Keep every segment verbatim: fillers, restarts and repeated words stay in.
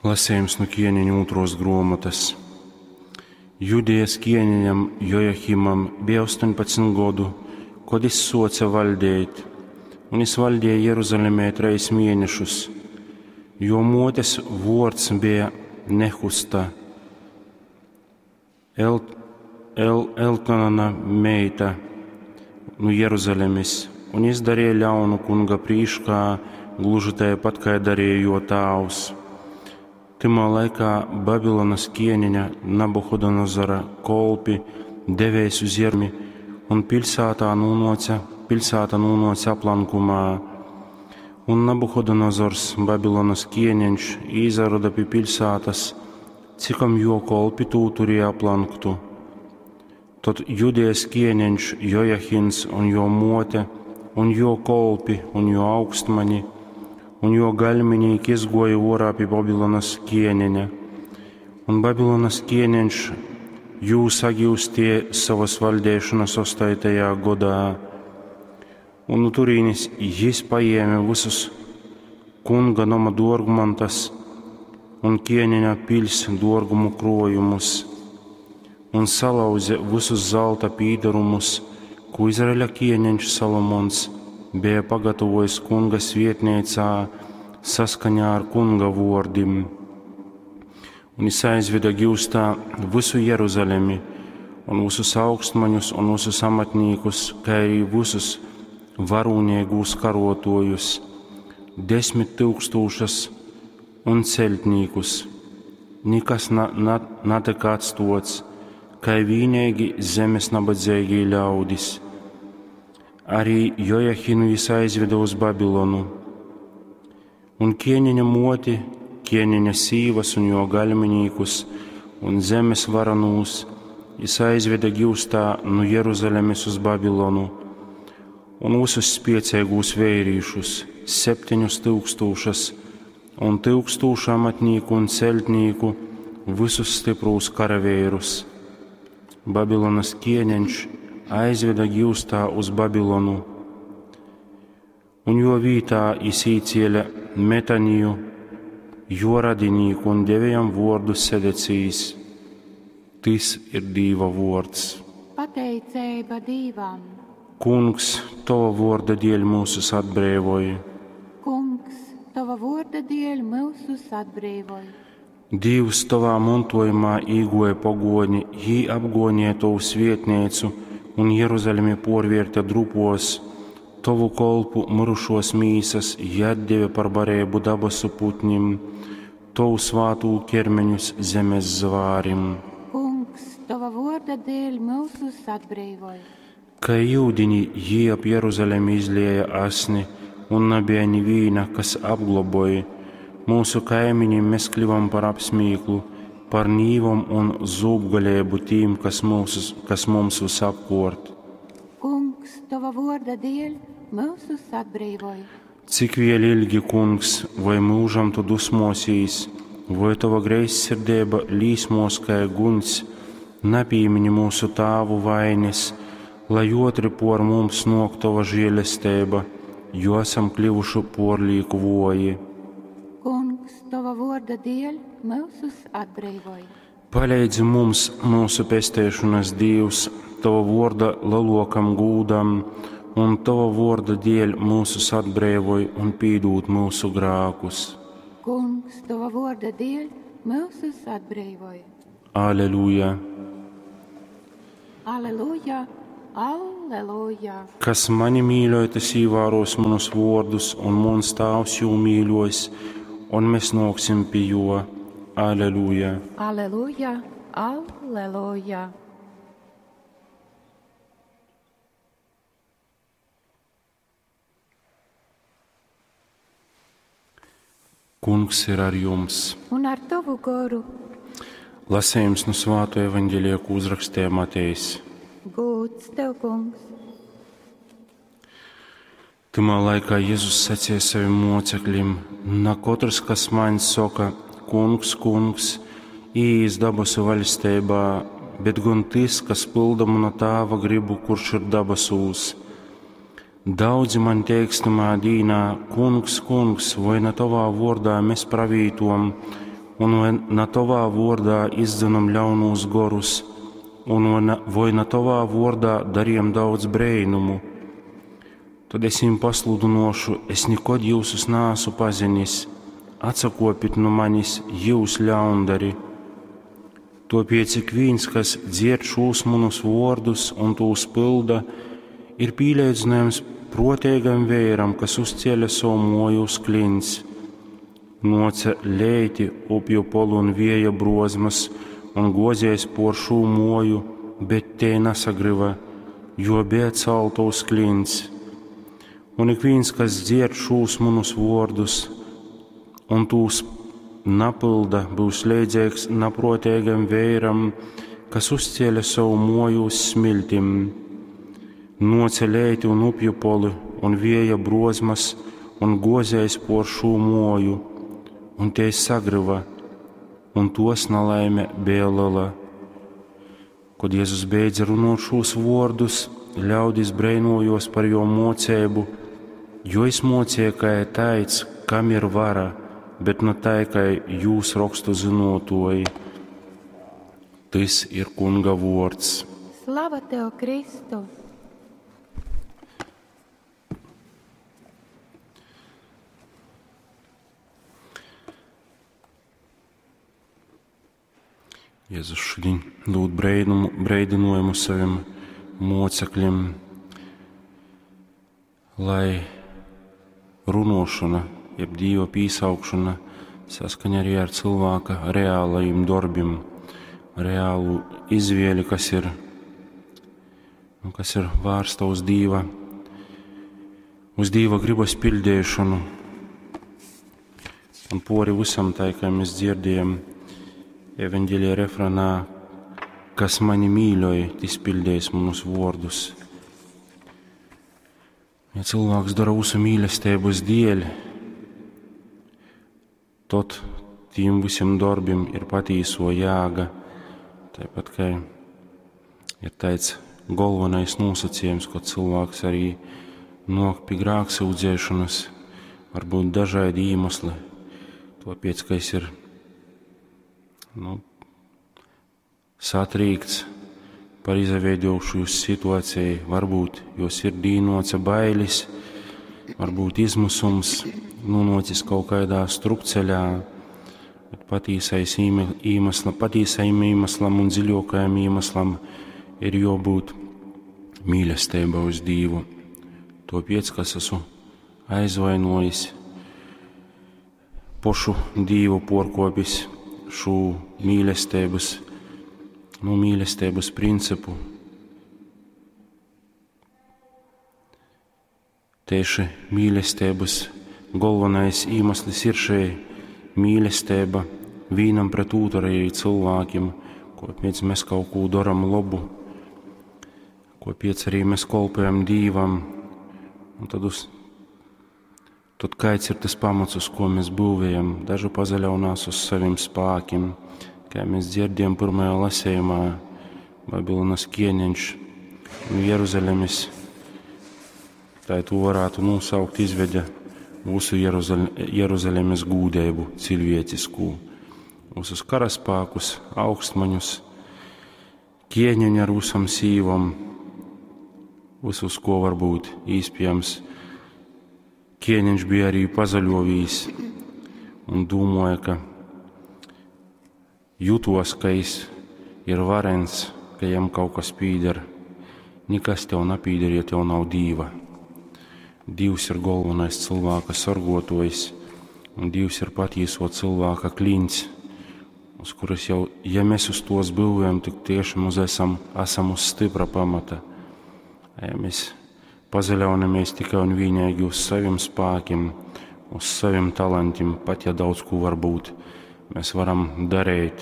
Lasījums no ķieniņa otros grāmatas. Judejas ķieniņam Jojahimam bija astoņpadsmit godu, kad viņš soca valdīt, un viņš valdīja Jeruzalemē treis mēnešus, jo motes vords bija Nehusta, El, El, Elkanana meita no Jeruzalemes, un viņš darīja ļaunu kunga prīškā, gluži tāpat, kā darīja jo tāvs. Tymā laikā Babilonas ķieniņa Nabuhodonozora kolpi devēs uz Jermi, un pilsētā nonāca, pilsēta nonāca aplankumā. Un Nabuhodonozors, Babilonas ķieniņš, izaroda pie pilsētas, cikom jo kolpi tū turēja aplanktu. Tad Judejas ķieniņš Jojahins un jo mote, un jo kolpi, un jo augstmaņi, un jo gaļminīgi izgoja orā pie Babilonas ķieniņa. Un Babilonas ķieniņš jū sagiustie savas valdēšanas ostotajā godā. Un no turīnes jis paēma visus kunga nama dorgmantas un ķieniņa pils dorgumu krojumus, un salauza visus zelta pīdarumus, ko Izraeļa ķieniņš Salomons bija pagatavojis kunga svietnīcā saskaņā ar kunga vārdim. Un viņš aizveda giustā visu Jeruzalemi un visus augstmaņus un visus amatnīkus, kā arī visus varūnīgos karotojus, desmit tūkstošas un celtnīkus. Nekas na, na, netika atstots, kā vienīgi zemes nabadzīgie ļaudis. Arī Jojahinu jis aizveda uz Babilonu. Un ķieniņa moti, ķieniņa sīvas un jo gaļminīkus un zemes varanūs jis aizveda giustā no Jeruzalemes uz Babilonu un visus spiecīgos vērīšus, septiņus tūkstošas un tūkstošu amatnīku un celtnīku, visus stiprus karavīrus. Babilonas ķieniņš aizveda giustā uz Babilonu, un jo vītā jis īcēla Metaniju, jo radinīku un deva jam vārdu Sedecijas. Tis ir Dīva vārds. Pateicība Dīvam. Kungs, tava vārda dēļ mūsus atbrīvoja. Kungs, tava vārda dēļ mūsus atbrīvoja. Dievs tavā mantojumā īgoja pagoni, jī apgonīja tavu svietnīcu un Jeruzalemi porvērta drupos, tavu kolpu mirušos mīsas jī atdeva par barību dabasu putnim, tavu svātū ķermeņus zemes zvārim. Kungs, tava vārda dēļ mūsus atbrīvoja. Kā jūdiņi jī ap Jeruzalemi izlieja asni, un nebija nivīna, kas apgloboja. Mūsu kaimiņiem mēs kļuvam par apsmīklu, par nīvom un zūbgalēbu tīm, kas, mūsus, kas mums visapkort. Kungs, tava vārda dēļ mūsus atbrīvoja. Cik vēl ilgi, kungs, vai mūžam tu dusmosīs, vai tava greizsirdība līsmos kā guns, nepīmini mūsu tāvu vainas, lai otri por mums nok tava žēlestība, jo esam kļuvuši porlīku voji. Kungs, tava vārda dēļ mūsus atbrīvoja. Palīdzi mums, mūsu pestēšanas Dievs, tava vārda lielākam gūdam, un tava vārda dēļ mūsus atbrīvoj un pīdūt mūsu grākus. Kungs, tava vārda dēļ mūsus atbrīvoja. Aleluja! Aleluja! Alleluja! Kas mani mīļoja, tas ievēros manus vārdus, un mans tēvs jū mīļos, un mēs nāksim pie jo. Aleluja! Aleluja! Alleluja! Kungs ir ar jums. Un ar tavu goru. Lasījums no Svāto evaņģēlija, ko uzrakstīja Matejs. Gūts tev, kungs. Tamā laikā Jēzus sacīja saviem mocekļiem: Na katrs, kas man saka, kungs, kungs, ieies dabasu vaļstībā, bet gan tas, kas pilda mana tēva gribu, kurš ir dabasūs. Daudzi man teiks tamā dīnā, kungs, kungs, vai ne tavā vārdā mēs pravītom, un vai na tovā vordā izdzenom ļaunūs gorus, un vai na tovā vordā darījom daudz breinumu? Tad es viņiem pasludinošu, es nekod jūsus nāsu pazinis, atsakopit no manis, jūs ļaundari. Tāpēc ik viens, kas dzird šos manus vārdus un tos pilda, ir pīlīdzinājums protīgam vēram, kas uzcēla savu moju uz klints. Noca leiti upju polu un vieja brozmas un gozēs por šo moju, bet te nesagriva, jo bija celta uz klints. Un ik viens, kas dzird šos manus vārdus un tos napilda, būs līdzīgs naprotīgam vēram, kas uzcēla savu moju uz smiltim. Noca leiti un upju poli un vieja brozmas un gozēs por šo moju, un te sagriva, un tos nelaime bija liela. Kad Jēzus beidza runot šos vārdus, ļaudis breinojos par jo mocību, jo es mocīju, kā taids, kam ir vara, bet ne tai, kā jūs rakstu zinotoji. Tas ir Kunga vārds. Slava tev, Kristu! Jēzus šodien dod breinumu, breidinājumu saviem mocekļiem, lai runošana, jeb Dieva pīsaukšana saskaņa arī ar cilvēka reālajiem darbiem, reālu izvēli, kas ir, nu, kas ir vērsta uz Dieva, uz Dieva gribas pildīšanu. Un pori visam tai, kā mēs dzirdējam evaņģēlija refrenā, kas mani mīļoja, tas pildīs manus vārdus. Ja cilvēks dara visu mīlestības dēļ, tad tiem visiem darbiem ir patīso jēga. Tāpat kā ir tāds galvenais nosacījums, ko cilvēks arī nāk pie grēksūdzēšanas, varbūt dažādi iemesli, tāpēc, ka es ir nu, satrīkts par izveidojušos situāciju, varbūt jo sirdī noca bailes, varbūt izmisums, nonācis kaut kādā strupceļā, bet patīsais iemesla, patīsajam iemeslam un dziļākajam iemeslam ir jābūt mīlestība uz Dievu. Tāpēc, kas esmu aizvainojis, pošu Dievu porkopis šo mīlestības, nu, mīlestības principu. Tieši mīlestības galvenais iemesls ir šī mīlestība vienam pret otru arī cilvēkiem, kāpēc mēs kaut ko darām labu, kāpēc arī mēs kalpojam Dievam. Un tad, uz, tad kāds ir tas pamats, uz ko mēs būvējam? Daži pazaļaunās uz saviem spēkiem, kā mēs dzirdējam pirmajā lasījumā, Babilonas ķēniņš un Jeruzalemes, tā to varētu nosaukt, izveda mūsu Jeruzalemes gūdību cilvēcisku, visus karaspēkus, augstmaņus, ķēniņu ar visam sīvam, visus, ko var būt iespējams. Ķēniņš bija arī pazaļovījis un domāja, ka jutos, ka es ir varens, ka jam kaut kas pīder. Nekas tev nepīder, ja tev nav Dieva. Dievs ir galvenais cilvēka sargotojs, un Dievs ir patīso cilvēka klints, uz kuras jau, ja mēs uz tos būvējam, tik tiešām uz esam, esam uz stipra pamata. Ja mēs pazaļaunamies tikai un vienīgi uz saviem spēkiem, uz saviem talantiem, pat ja daudz ko var būt, mēs varam darīt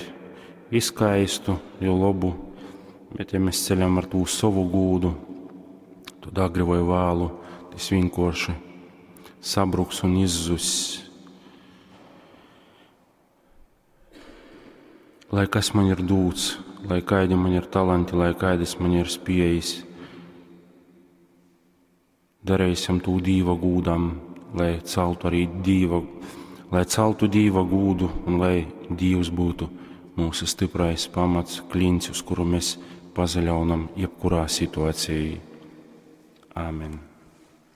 izskaistu, jo labu, bet ja mēs ceļam ar to savu gūdu, tad agri vai vēlu tas vienkārši sabruks un izzuss. Lai kas man ir dūts, lai kādi man ir talanti, lai kādas man ir spējas, darīsim to Dieva gūdam, lai celtu arī Dieva, lai celtu Dīva gūdu un lai Dīvs byutu myusu styprais pamats, klints, uz kuru mēs pasaļaunam jebkurā situācijā. Āmen.